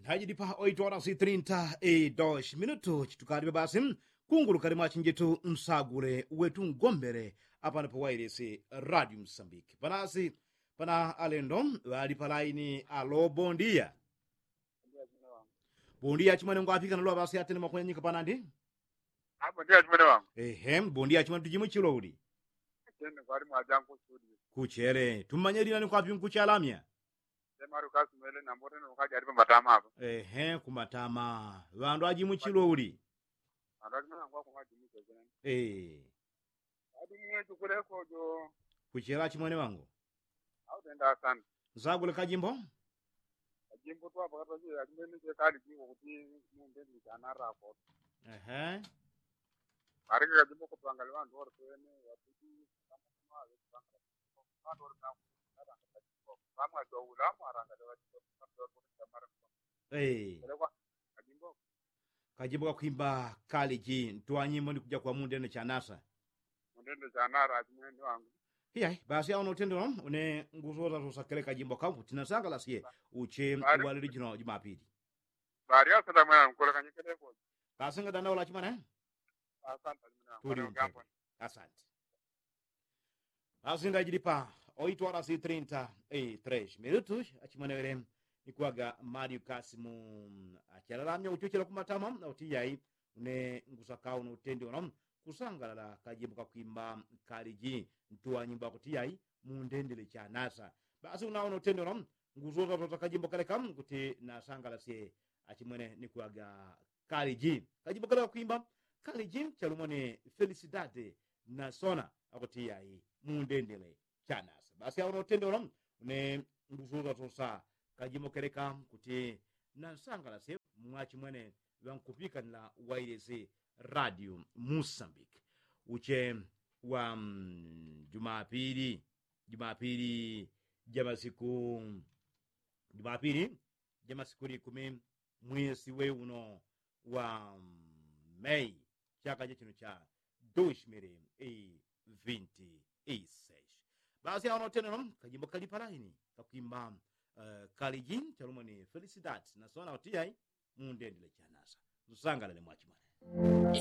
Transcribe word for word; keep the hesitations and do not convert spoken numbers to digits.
Nthajidi pa oito horas e trinta e dos minutu chitukalipe basi. Kungulukali mwachinjitu nsagule wetu ngombele apano pa wailesi radio msambiki panasi. Pana alendo ŵali palaini alo bondia. Bondia chimwene ngwapikana lwa basi atene makwenya nyika panandi. Bondia chimwene wangu. Ehe, bondia chimwene tujimu chilo uli. Kuchele tumanye lina ni kwapi nkuchalamya. Emaru kasimwele nambote nokaja alipo matama apa. Ehe, kumatama. Ŵandu ajimu chilo uli. Ŵandu ajimu chilo uli. Adi mwetu kulekojo. Kuchela chimwene wangu. Autenda asante. Nsagule kajimbo. Kajimbo twapakatwaje alimene chekali jiko kuti mundeni chanarako. Ehe. Areke kajimbo kutwangali ŵandu ore twene ŵatiji. Ŵandu ore naku. Pamwajoula mwarangale ŵatiji. Kajimbo kakwimba kaliji ntwanyimbo ni kuja kwa mundene chanasa. Mundene chanara achimwene wangu. Iyai basi awo notendela une ngusosa sosa kele kajimbo kakuti nasangalasye uche walili jino jumapili. Bali asante mwana nkulekanyikelekoji. Basi ngadandaula achimwene. Asante achimwene wangu. Asante. Asinda jilipa oito horas e trinta e tres minutos achimwenewele. Nikuwaga mali ukasimu achalalamya uchochela kumatama na utiyai. Une ngusakau na utendi uno kusangalala kajimbo kakwimba kaliji ntuwa nyimbo akutiyai mundendele chanasa. Basi unawo na utendi uno ngusosasota kajimbo kaleka kuti nasangalasye achimwene nikuwaga kaliji kajimbo kaleka kwimba kaliji chalumwa ni felisidade nasona akutiyai mundendele chanasa. Basi awo na utendi uno une ngusosasota kajimbo kaleka kuti nasangalasye mwachimwene ŵankupikanila wailesi radio musambiki. Uche wa jumapili jumapili jamasiku jumapili jamasiku likumi mwesi we uno wa mei chaka chachino cha dushmili vinti iseshi. Basi awo notenelo kajimbo kalipalaini kakwimba kaliji chalumwa ni felisidati nasona utiyai mundendele chanasa. Nsangalale mwachimwene.